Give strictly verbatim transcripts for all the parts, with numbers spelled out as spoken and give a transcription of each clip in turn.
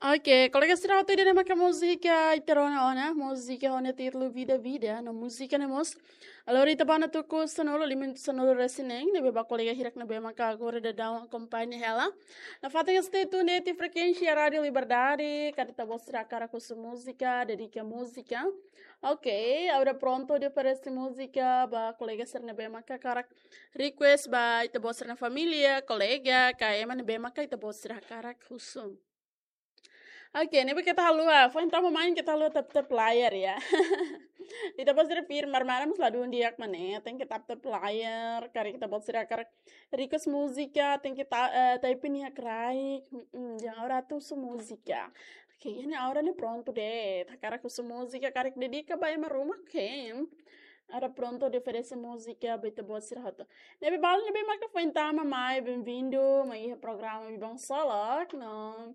Oke, kolega sira hotu, ida-ne'e maka múzika ita rona ona, múzika ho nia títulu Vida Vida, no múzika ne'e mós lori ita ba ona tuku sanulu, lima minutu sanulu resin neen, ne'ebé ba kolega hirak ne'ebé maka agora daudaun akompaña hela. Nafatin stay tune de'it iha frekuénsia Rádiu Liberdade, karik ita-boot sira hakarak husu múzika, dedika múzika. Oke, agora prontu hodi oferese múzika ba kolega sira ne'ebé maka hakarak request ba ita-boot sira-nia família, kolega, ka ema ne'ebé maka ita-boot sira hakarak husu. Oke, ne'ebé keta haluha, foin tama mai keta haluha tap-tap layar ya. Ita-boot sira firme, maran-maran mós ladún di'ak mak ne'e, tenke tap-tap layar, karik ita-boot sira hakarak request múzika, tenke ta, eh, type nia kraik, mm, yang agora atu husu múzika. Oke, iha ne'e agora ne'e prontu de'it, hakarak husu múzika, karik dedika ba ema ruma, oke. Agora prontu hodi oferese múzika ba ita-boot sira hotu. Ne'ebé balu ne'ebé maka foin tama mai, bem-vindo mai iha programa Biban Solok, no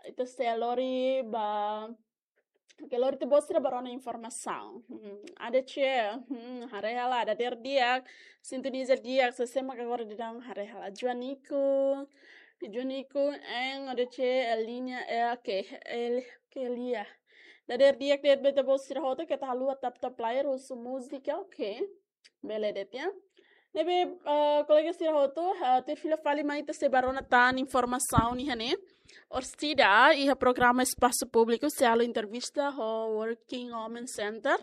ita sei lori ba, oke, lori ita-boot sira ba rona informasaun. Hmm, A D C, hmm, haree hela, dadeer di'ak, sintoniza di'ak, sé-sé maka agora daudaun, haree hela. Juanico, Juanico, en, A D C, Elinia, eh, oke, El, oke, Elia. Dadeer di'ak de'it ba ita-boot sira hotu, keta haluha tap-tap layar, husu múzika, oke. Bele de'it ya. Ne'ebé, eh, kolega sira hotu, eh, tuir fila fali mai ita sei ba rona tan informasaun iha ne'e. Orsida, iha programa Espasu Públiku, sei halo entrevista ho Working Women Center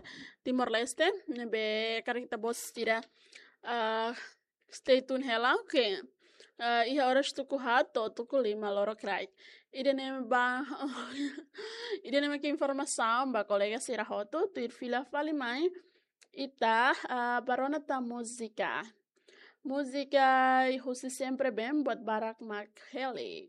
Timor-Leste, ne'ebé karik ita-boot sira, eh, stay tune hela, oke. Eh, iha oras tuku haat to'o tuku lima lorokraik. Ida-ne'e ba, ida-ne'e maka informasaun ba kolega sira hotu, tuir fila fali mai ita, ah, ba rona tan múzika. Múzika husi Sempre Bem, buat barak mak heli.